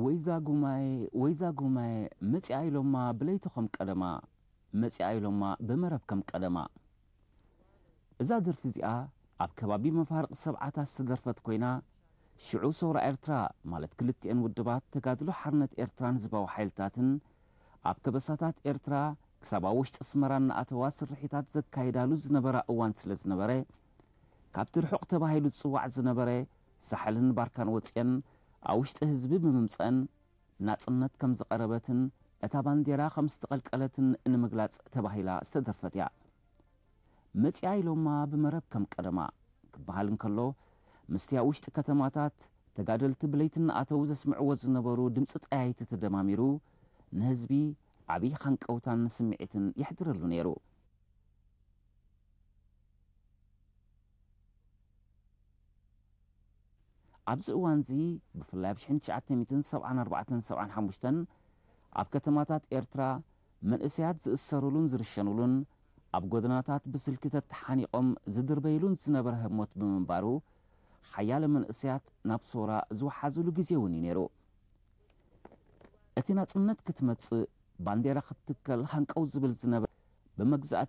ወይዛ ጉማየ፣ ወይዛ ጉማየ፣ መጺኣ ኢሎማ ብለይቲ ከም ቀደማ፣ መጺኣ ኢሎማ ብመረብ ከም ቀደማ። እዛ ደርፊ እዚኣ ኣብ ከባቢ መፋርቕ ሰብዓታት ዝተደርፈት ኮይና፣ ሽዑ ሰውራ ኤርትራ፣ ማለት ክልቲኤን ውድባት ተጋድሎ ሓርነት ኤርትራን ህዝባዊ ሓይልታትን፣ ኣብ ከበሳታት ኤርትራ ክሳብ ኣብ ውሽጢ ኣስመራ እናኣተዋ ስርሒታት ዘካይዳሉ ዝነበራ እዋን ስለ ዝነበረ፣ ካብቲ ርሑቕ ተባሂሉ ዝጽዋዕ ዝነበረ ሳሕልን ባርካን ወጺኤን ኣብ ውሽጢ ህዝቢ ብምምጸን ናጽነት ከም ዝቐረበትን እታ ባንዴራ ከም ዝተቐልቀለትን ንምግላጽ ተባሂላ ዝተደርፈት እያ። መጺኣ ኢሎማ ብመረብ ከም ቀደማ ክበሃል እንከሎ፣ ምስቲ ኣብ ውሽጢ ከተማታት ተጋደልቲ ብለይቲ እናኣተዉ ዘስምዕዎ ዝነበሩ ድምጺ ጠያይቲ ተደማሚሩ ንህዝቢ ዓብዪ ሃንቀውታን ስምዒትን የሕድረሉ ነይሩ። ኣብዚ እዋንዚ ብፍላይ ኣብ ሽሕን ትሽዓተ ሚእትን ሰብዓን ኣርባዕተን ሰብዓን ሓሙሽተን ኣብ ከተማታት ኤርትራ መንእሰያት ዝእሰሩሉን ዝርሸኑሉን ኣብ ጎደናታት ብስልኪ ተተሓኒቖም ዝድርበይሉን ዝነበረ ህሞት ብምንባሩ ሓያለ መንእሰያት ናብ ሶራ ዝወሓዙሉ ግዜ እውን እዩ ነይሩ። እቲ ናጽነት ክትመጽእ ባንዴራ ክትትከል ሃንቀው ዝብል ዝነበረ ብመግዛእቲ